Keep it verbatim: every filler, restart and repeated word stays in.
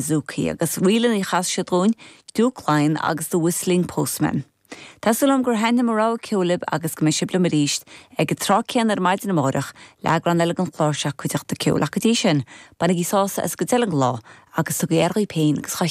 Zookie agus rílan í chas siad dúinn Duke Lyon agus the Whistling Postman. Tá súil agam gur thaitin mo rogha ceoil libh agus go mbeidh sibh liom arís ag an tráth céanna ar maidin amárach le heagrán eile den chlár seo Cuideachta Ceoil ach go dtí sin, bainigí sásamh as go deireadh an lá agus tugaigí aire daoibh féin agus dá